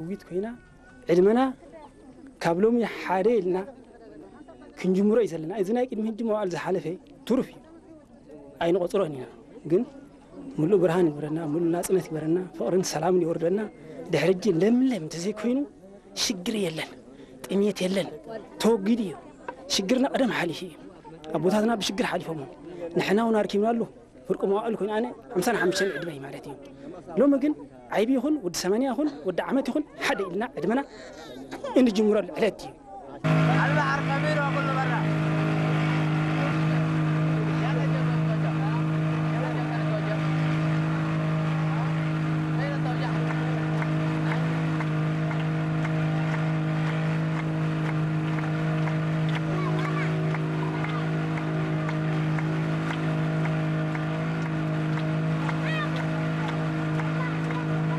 ውይት ኮይና ዕድመና ካብ ሎሚ ሓደ ኢልና ክንጅምሮ እዩ ዘለና። እዚ ናይ ቅድሚ ሕጂ መዋዕል ዝሓለፈ ትሩፍ እዩ፣ ኣይንቆፅሮን ኢና። ግን ምሉእ ብርሃን ይግበረና፣ ምሉእ ናፅነት ይግበረና፣ ፍቕርን ሰላምን ይወርደና። ድሕሪ ሕጂ ለምለም እንተዘይኮይኑ ሽግር የለን፣ ጥሜት የለን፣ ተወጊዱ እዩ። ሽግርና ቀደም ሓሊፉ እዩ። ኣቦታትና ብሽግር ሓሊፎሞ፣ ንሕና እውን ኣርኪብናሉ። ፍርቂ መዋእል ኮይኑ ኣነ ሓምሳን ሓሙሽተን ዕድመ እዩ ማለት እዩ። ሎሚ ግን ዓይቢ ይኹን ወዲ ሰማንያ ይኹን ወዲ ዓመት ይኹን ሓደ ኢልና ዕድመና እንጅምረሉ ዕለት እዩ።